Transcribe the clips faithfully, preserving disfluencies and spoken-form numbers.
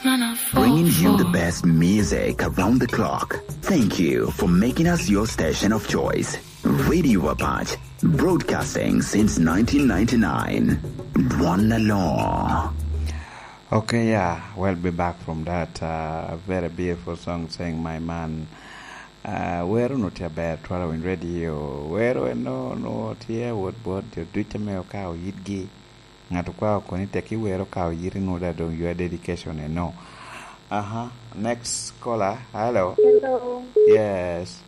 Bringing you the best music around the clock. Thank you for making us your station of choice. Radio Apache, broadcasting since nineteen ninety-nine. Dwon Alor. Okay, yeah, we'll be back from that, uh, very beautiful song saying "My Man." Uh, wero nu tye aber, twero winy radio. Wero eno nu tye wot bot jo duc ame okao yitgi. Ŋat okwao koni tek iwero ka oyiti nu da dong your dedication eno. Aha, next caller. Hello. Hello. Yes.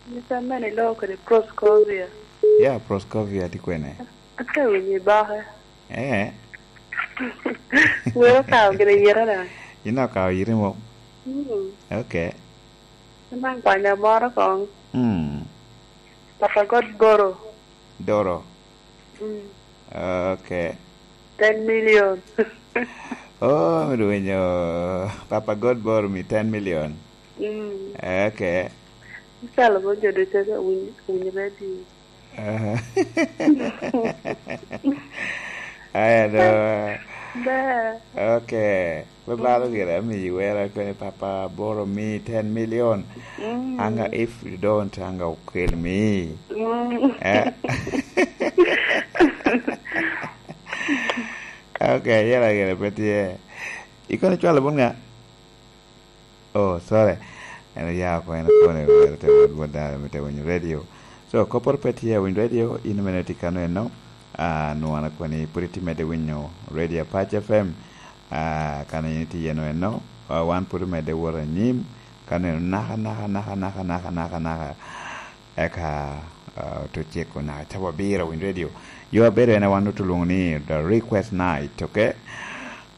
Mister Manny Low kede Proscovia. Yeah, Proscovia tye kwene? Ate winyo i boke. Eh. Wero kao gire yere da. Ina kao yere mo? Mm. Okay. Ina kwanya moro kong. Mm. Papa God Boro. Doro. Mm. Okay. Ten million. Oh, mi winyo Papa God Boro mi ten million. Mm. Okay. Isalo mo jo ducu winy, winy radio. Aha. Aya do. Ber. Okay. Me balo gire, amiyi wera kene Papa Boro mi ten million. Mm. Anga if you don't, anga okel mi. Mm. Eh. Okay, yela gire pe tye. Ikono cwalo bun nga? Oh, sorry. En oya oko, en okone, wero te wot, wot dano, me te winyo radio. So, kopporo pe tye, winyo radio, in mene tye kano eno. Ah, nwana koni pwod itye medde winyo Radio Apache F M. Ah, kano in itye yeno eno. Ah, wan pwod omedde wot anyim. Kano eno naka, naka, naka, naka, naka, naka, naka. Eka, ah, oto ceko naka cawa abiro winyo radio. Yo abedo en a wan oto lwongo ni The Request Night, okay?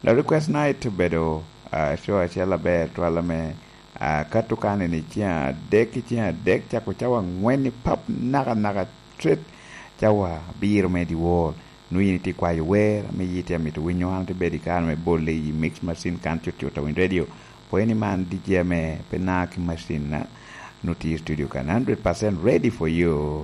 The Request Night obedo, ah, show acel aber twal ame, ah, kato kane ni ceng adek ki ceng adek cako cawa angwen i pap naka naka, straight cawa abiro me dyewor. Nwoŋo in itye kwayo wer ame yiti amito winyo, an atye bedo i kare me bole i mix machine kan cut cut a winyo radio. Pwony ni man D J ame pe na ki machine na, nwoŋo tye i studio kan hundred percent ready for you.